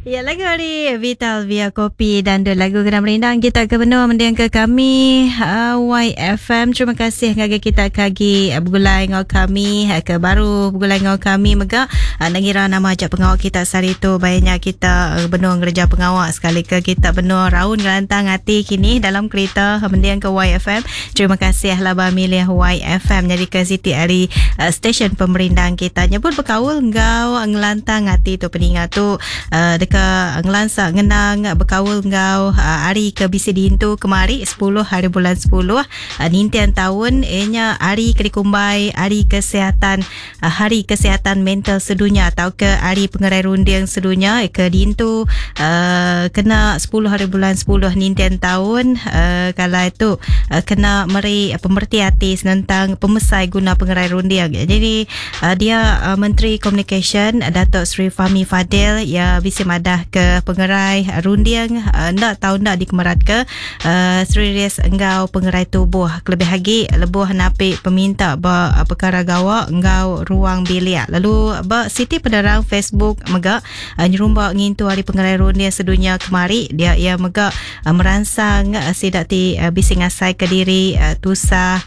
Ya lagu ari Vital Via Kopi dan dua lagu kena merindang kita ke benua mending ke kami YFM. Terima kasih ngagai kita ke agi begulai enggau kami ke baru begulai enggau kami mega nengira nama aja pengawa kita sehari tu bai nya kita benung ngereja pengawa sekali ke kita benung raun ngelantang ati kini dalam kerita mending ke YFM. Terima kasih laban milih YFM nyadika siti ari stesen pemerindang kita. Nyebut bekaul enggau ngelantang ati tu peninga tu deka ngelansa ngenang bekaul enggau hari ke bisi diintu kemari 10 hari bulan 10 ninting taun iya nya hari ke dikumbai Hari Kesihatan Hari Kesihatan Mental Sedunya tauka Hari Pengerai Runding Sedunya ke diintu kena 10 hari bulan 10 ninting taun kalai tu kena meri pemereti ati senentang pemesai guna pengerai runding. Jadi dia Menteri Komunikasyen Datuk Seri Fahmi Fadil iya bisi madah ke pengerai runding enda tau enda dikemeratka seriris enggau pengerai tubuh kelebih agi lebuh napi peminta ba pekara gawa enggau ruang bilik. Lalu ba siti penerang Facebook mega nyerumba ngintu Hari Pengerai Runding Sedunya kemari dia iya mega meransang sida ti bisi ngasaika diri tusah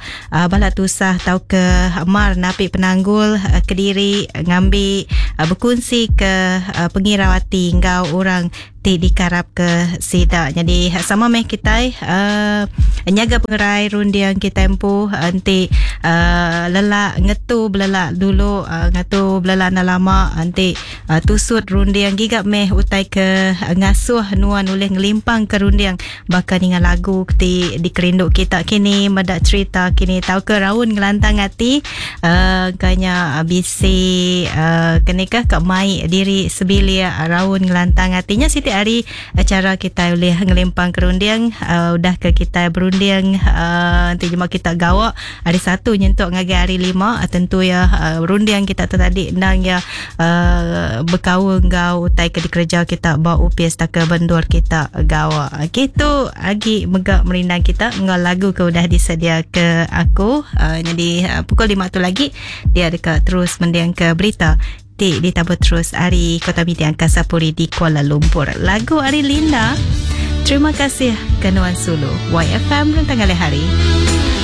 bala tusah tauka mar napi penanggul kediri ngambi bekunsika pengirau ati enggau orang ti dikarapka sida. Nyadi sama meh kitai uhh nyaga pengerai runding kitai empu enti uhh lelak ngetu belelak dulu uhh ngetu belelak enda lama enti tusut runding giga meh utai ke ngasuh nuan ulih ngelimpangka runding baka ninga lagu ti dikerindu kita kini meda cherita kini tauka raun ngelantang ati uhh engka nya bisi uhh keni kah ka mai diri sebilik raun ngelantang ati nya siti ari chara kitai ulih ngelimpang ke runding uhh udah ke kitai berunding uhh enti jema kita gawa hari satu nyentuk ngagai hari lima tentu iya runding kita tu tadi endang iya uhh bekaul enggau utai ke dikereja kita ba opis tauka ba endur kita gawa. Okey tu agi mega merindang kita enggau lagu ke udah disedia ke aku uhh nyadi pukul lima tu lagi dia deka terus mending ke berita ti ditabur terus ari Kota Media Angkasa Puri di Kuala Lumpur. Lagu ari Linda. Terima kasih ke nuan sulu. YFM Rentang Ngalih Hari.